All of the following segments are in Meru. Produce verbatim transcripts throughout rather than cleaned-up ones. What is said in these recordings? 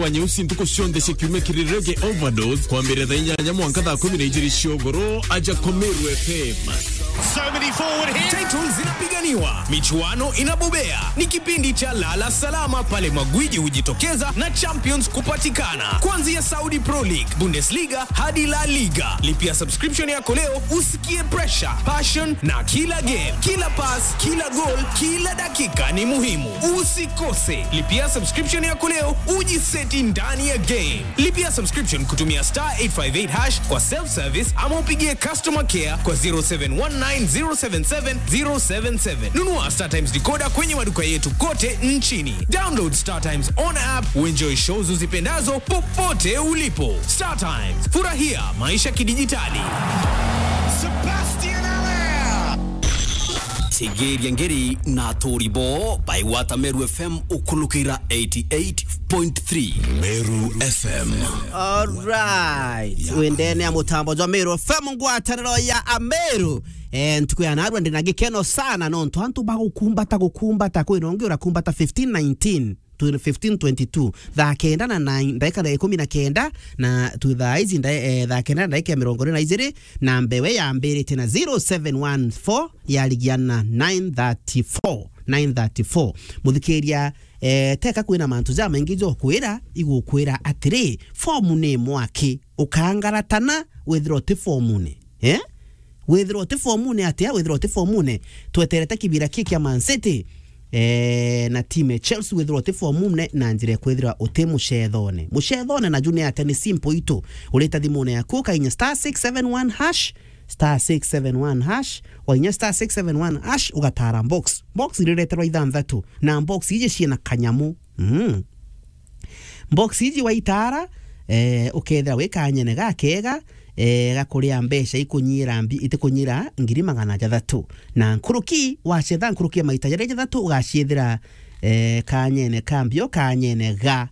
wa nyeusi ntuku cionthe cia kiumia kiri Reggae Overdose, kwambiriria thaa inyanya mwanka thaa kumi na ijiri cia ugoro, aja kwa Meru F M. So many forward here. Titles zinapiganiwa, michuano inabobea. Ni kipindi cha lala salama pale magwiji hujitokeza na champions kupatikana. Kuanzia Saudi Pro League, Bundesliga hadi La Liga. Lipia subscription yako leo usikie pressure, passion na kila game, kila pass, kila goal, kila dakika ni muhimu. Usikose. Lipia subscription yako leo ujiseti ndani ya game. Lipia subscription kutumia star eight five eight hash kwa self service ama upigie customer care kwa zero seven one nine zero seven seven zero seven seven. Nunua StarTimes decoder kwenye maduka yetu kote nchini. Download StarTimes on app, uenjoy shows uzipendazo popote ulipo. StarTimes, furahia maisha kidijitali. Sebastian Allaire. Tegeria ngeri na aturi bo by Water Meru F M ukulukira eighty eight point three Meru F M. Alright. Wendene ya mutambo jwa Meru F M, ngwataniro ya Ameru. Eh, ntuku ya narua ndina gikeno sana nontu antu bagukumbata, gukumbata, kwina ungi urakumbata fifteen nineteen to fifteen twenty-two, thaa kenda na nine, ndaika ya ikumi na kenda, na tu thaa ici nda-, eh, thaa kenda na ndaika ya mirongo iri na ijiri, na mbewe yambiritie na zero seven one four yarigiana nine thirty-four, nine thirty-four. Muthikiria, eh, teka kwina mantu jamaingi jokwira, igukwira atiri, fomu ni mwaki, ukangaratana, withirwa uti fomune. Eh? Withirwa uti fomune atia? Withirwa uti fomune, tweterete kibira ki kia Man City, eh, na timu ya Chelsea. Withirwa uti fomune na njira ya kwithirwa uti mucethone. Mucethone naju ni atia? Ni simple itu. Urita thimune yaku, ukainya star six seven one hash, star six seven one hash, wainya star six seven one hash, ugatara box. Box irireterwa ithanthatu, na box iji ciina kanyamu. Mm. Box iji waitara, eh, ukethira wi kanyene gakega, eh, gakuria mbeca ikunyira mbi-, itikunyira ngiri magana jathatu. Na nkuruki, wacetha nkuruki ya maita jaria jathatu, ugaciethira, eh, kanyene ka mbio, kanyene ga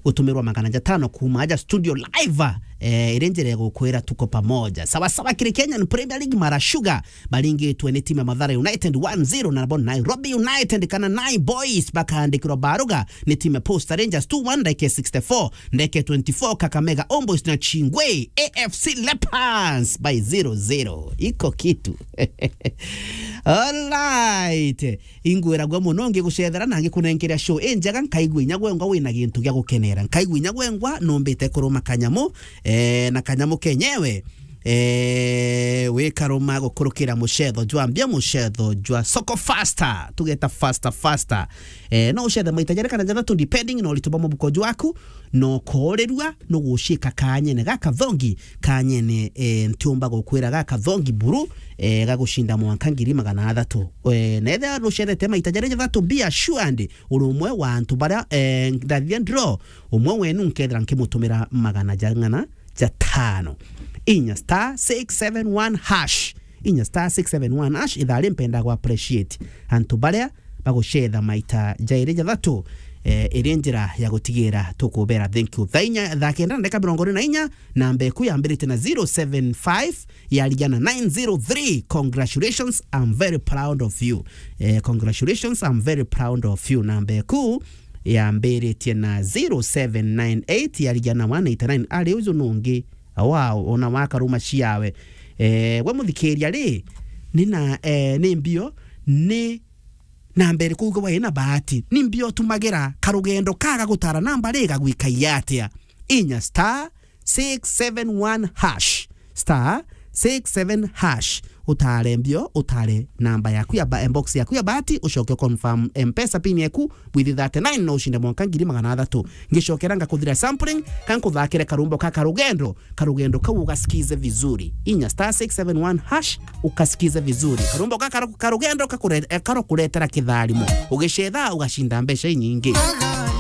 gutumirwa magana jatano kuuma aja studio live, eh, iri njira ya gukwira tuko pamoja. Sawa sawa, kiri Kenyan Premier League, Mara Sugar baringitwe ni timu ya Mathare United one zero, na nabo Nairobi United kana Nai Boys bakaandikirwa baruga ni timu ya Posta Rangers two one, ndagika sixty-four, ndagika twenty-four, Kakamega Homeboyz na Chingwe A F C Leopards by zero zero. Iko kitu. Alright. Ingwiragua muno ngigucethera na ngikunenkeria show injega, nkaigua inya gwengwa wina gintu gia gukenera. Nkaigua inya gwengwa numbite kuruma kanyamu, eh, na kanyamu kenyewe, eh, wikaruma gukurukira mucetho jwa mbia, mucetho jwa soko faster, tugeta faster, faster. Eh, no ucethe maita jari kana jathatu depending na uritu bwa mubuko jwaku, no koorirua, no gucika kanyene gakathongi, kanyene, eh, ntiumba gukwira gakathongi buru, eh, gagucinda mwanka ngiri magana athatu. Eh, na ethira nucethete maita jari jathatu, be assured, uri umwe wa antu baria, eh, ndathithia draw, umwe wenu nkethira nkimutumira magana jang'ana jatano. Inya star six seven one hash. Inya star six seven one hash, ithaa ri mpenda gu appreciate antu baria bagucetha maita jairi jathatu, eh, iri njira ya gutigira tukubera thank you. Thaa inya, thaa kenda na ndagika mirongo iri na inya, namba eku yambirite na zero seven five, yarigia na nine zero three. Congratulations, I'm very proud of you. Eh, congratulations, I'm very proud of you. Namba eku yambiritie na zero seven nine eight, yarigia na one eighty nine. Ari uju nungi, wow, ona wakaruma ciawe. Eh, we muthikiria ri, ni na, eh, ni mbio, ni namba iriku uga wina bahati? Ni mbio tumagira karugendo kaga gutara namba ri gagwikaia atia? Inya star six seven one hash. Star six seven hash. Utare mbio, utare namba yaku ya ba-, box yaku ya bahati, ucoke confirm M-Pesa pin yaku, with thirty-nine no ucinde mwanka ngiri magana athatu. Ngicokera ngakuthira sampling, ka nkuthakire karumbo ka karugendo, karugendo kau ugasikize vizuri. Inya star six seven one hash, ukasikize vizuri. Karumbo ka karu-, karugendo kakure-, eh, karokuretera kitharimo. Ugicetha, ugacinda mbeca inyingi.